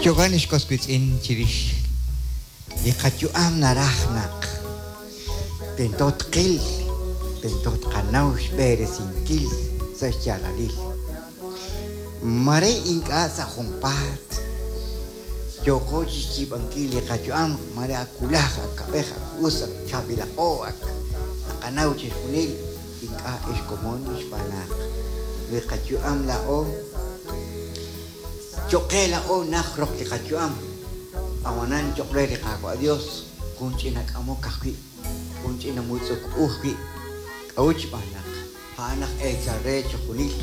Jo'kan ex was wiitz'in chirix li qayu'am naraj naq tento tqil, tento tqanaw xb'eresinkil sa' xyaalalil. Mare ink'a' sa' junpaat yooqo chixyiib'ankil li qayu'am, mare ak wulaj, ak kab'ej, ak us, ak chaab'ilaqo, ak naqanaw chixjunil, ink'a' ex komon xb'aan naq li qayu'am laa'o Cho'q qe laa'o najt roq li qayu'am, ab'anan cho'q re li Qaawa' Yos jun ch'ina k'amok ajwi', jun ch'ina mutz'uk u ajwi'. K'a'ut? Xb'aan naq a'an aj eechal re chixjunil,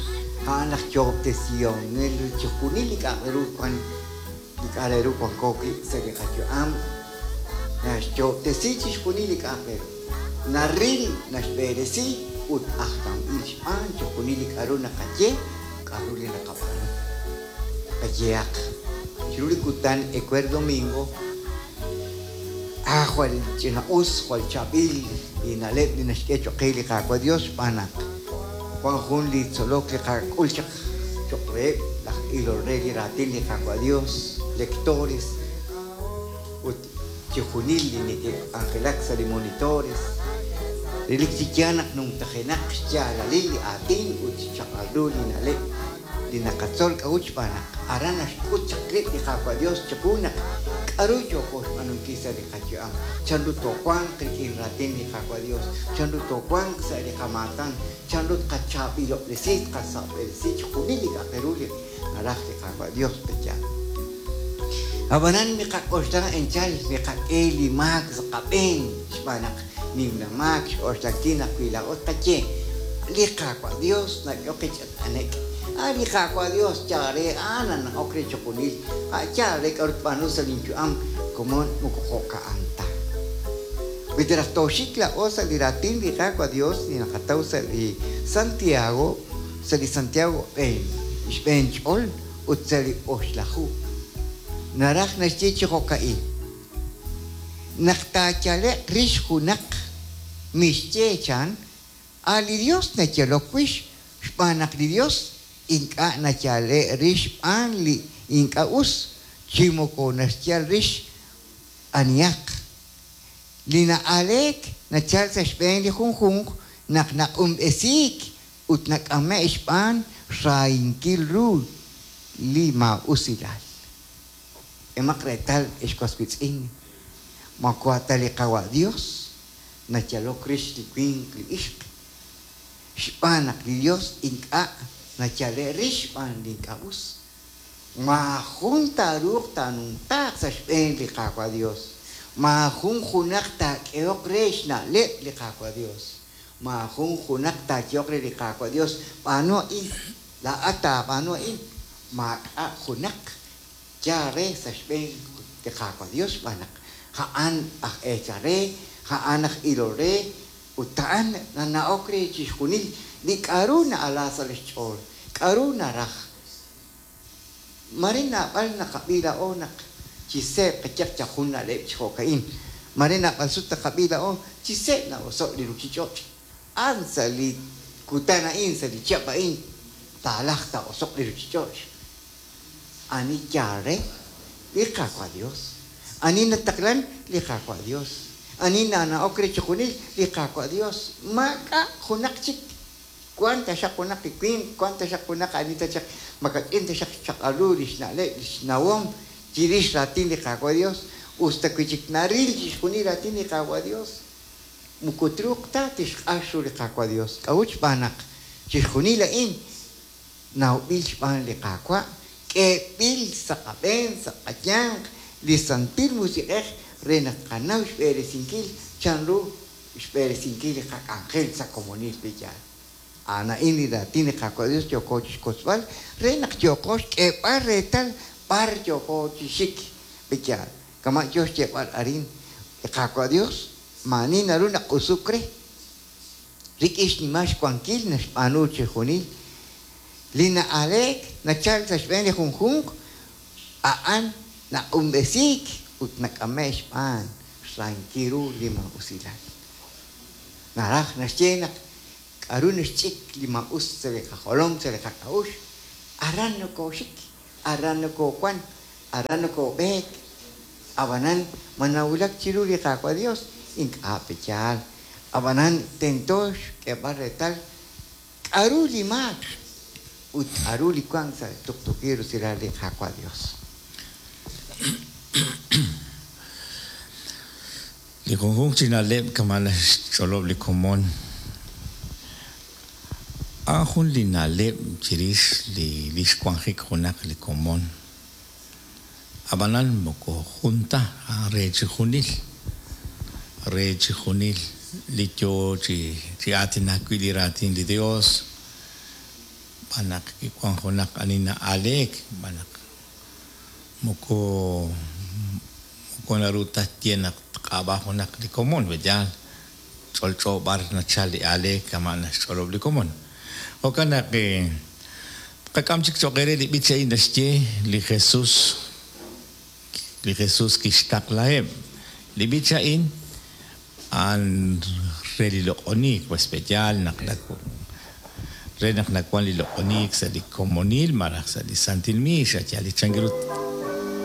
a'an aj yoob'tesihonel re chixjunil li k'a'aq re ru wank, li k'a' re ru wanko wi' sa' li qayu'am. Naxyoob'tesi chixjunil li k'a'aq re ru, naril, naxb'eresi ut ajlanb'il xb'aan chixjunil li k'a'ru naqaye, k'a'ru li naqab'aanu. Qayehaq, chiru li kutan ewer domingo, a jwal ch'ina-us, jwal chaab'il li na'leb' li naxk'e choq' qe li Qaawa' Dios xb'aan naq wan jun li tzolok li qak'ul chaq choq' reheb' laj ilol re li raatin li Qaawa' Dios, lectores, ut chixjunil li neke'k'anjelak sa' li monitores. Relik chi yaal naq numtajenaq xyaalalil li aatin ut xchaq'al ru li na'leb' li naqatzol k'a'ut xb'aan naq aran naxk'ut chaq rib' li Qaawa' Dios chiqu naq k'a'ru yooko xb'aanunkil sa' li qayu'am, chanru toowanq rik'in raatin li Qaawa' Dios, chanru toowanq sa' li qamaatan, chanru tqachaab'ilob'resi, tqasab'eresi chixjunil li k'a'aq re ru li naraj li Qaawa' Dios pe'yaal. Ab'anan miqak'oxla enchal miqak'e li maak sa' qab'een xb'aan naq nimla maak xk'oxlankil naq wi laa'o tqaye, Li Qaawa' Dios nak'ehok qe chi t'ane'k. A' li Qaawa' Dios yaal re a'an nana'ok re chixjunil, a' yaal re k'a'ru tb'aanu sa' linyu'am, komon moko jo'ka'an ta. Wi ta raj tooxik laa'o sa' li raatin li Qaawa' Dios li naqataw sa' li Santiago, sa' li Santiago b'een, xb'een ch'ol ut sa' li oxlaju. Naraj naxye chi jo'ka'in, Naq taayale'q rix junaq, mixye chan, A' li Yos nayalok wix, xb'aan naq li Yos ink'a' nayale' rix xb'aan li ink'a' us, chi moko naxyal rix anihaq. Li na'aaleek nachalk sa' xb'een li junjunq naq naq'unb'esiik ut nak'ame'k xb'aan xrahinkil ru li maa'usilal. K'emaq reetal, ex was wiitz'in, ma wa ta li Qawa' Yos nayalok rix li winq li ixq, xb'aan naq li Yos ink'a' nayale' rix xb'aan li ink'a' us. Maajun taaruuq taanumtaaq sa' xb'een li Qaawa' Yos, maajun junaq taak'ehoq re xna'leb' li Qaawa' Yos, maajun junaq taayehoq re li Qaawa' Yos, B'aanu a'in, laa'at taab'aanu a'in, maak'a' junaq yaal re sa' xb'een li Qaawa' Yos xb'aan naq a'an aj eechal re, a'an aj ilol re, ut a'an nana'ok re chixjunil li k'a'ru na'ala sa' lix ch'ool, k'a'ru naraj. Mare naab'al naqab'i laa'o naq chi seeb' qayaq yal jun na'leb' chi jo'ka'in. Mare naab'al sut naqab'i laa'o chi seeb' na'oso' li ruchich'och'. A'an sa' li kutan a'in, sa' li chihab' a'in, taalajq taa'oso'q li ruchich'och'. Ani yaal re? Li Qaawa' Dios. Ani nataqlan? Li Qaawa' Dios. Ani nana'ok re chixjunil? Li Qaawa' Dios. Maak'a' junaq chik. Wank taxaq junaq li winq, wank taxaq junaq ani taxaq makach'in taxaq xchaq'al ru lix na'leb', lix nawom chirix raatin li Qaawa' Dios, us ta wi chik naril chixjunil raatin li Qaawa' Dios, moko truuq ta tixq'ax ru li Qaawa' Dios. K'a'ut? Xb'aan naq chixjunil a'in nawb'il xb'aan li Qaawa', k'eeb'il sa' qab'een, sa' qayanq, li Santil Musiq'ej re naq tqanaw xb'eresinkil chanru xb'eresinkil li qak'anjel sa' komonil li yaal. A'an a'in li raatin li Qaawa' Dios yooko chixwotzb'al re naq yooqo xk'eeb'al reetal b'ar yooko chi xik li yaal. Kama' yoo xyeeb'al arin li Qaawa' Dios, maa'ani naru naq'usuk re. Rik'in xnimal xwankil naxb'aanu chixjunil. Li na'aleek nachalk sa' xb'een li junjunq, a'an naq'unb'esiik ut nak'ame'k xb'aan xrahinkil ru li maa'usilal. Naraj naxye naq k'aru naxch'ik li maa'us sa' li qajolom, sa' li qak'a'uxl, aran nokooxik, aran nokoowank. Aran nokoob'eek. Ab'anan ma nawulak chiru li Qaawa' Yos? Ink'a' pe'yaal. Ab'anan tento xk'eeb'al reetal k'aru li maak ut k'aru li wank sa' tuqtuukil rusilal li Qaawa' Yos. Li junjunq chi na'leb' kama' naxch'olob' li komon, a'an jun li na'leb' chirix li li xwanjik junaq li komon. Ab'anan moko jun ta, a'an re chijunil, re chijunil li yoo chi chi aatinak wi' li raatin li Dios, xb'aan naq kiwan junaq ani na'aaleek, xb'aan naq Moko moko naru ta tye naq tq'ab'a junaq li komon, pe yaal, ch'olch'o b'ar nachal li aaleek kama' naxch'olob' li komon. Jo'kan naq tqak'am chik cho'q eere li b'ich a'in naxye li Jesus, li Jesus kixtaqlaheb'. Li b'ich a'in a'an re li loq'oniik, pues pe yaal naq re naq nawan li loq'oniik sa' li komonil malaj sa' li santil miix, a' yaal li chan ru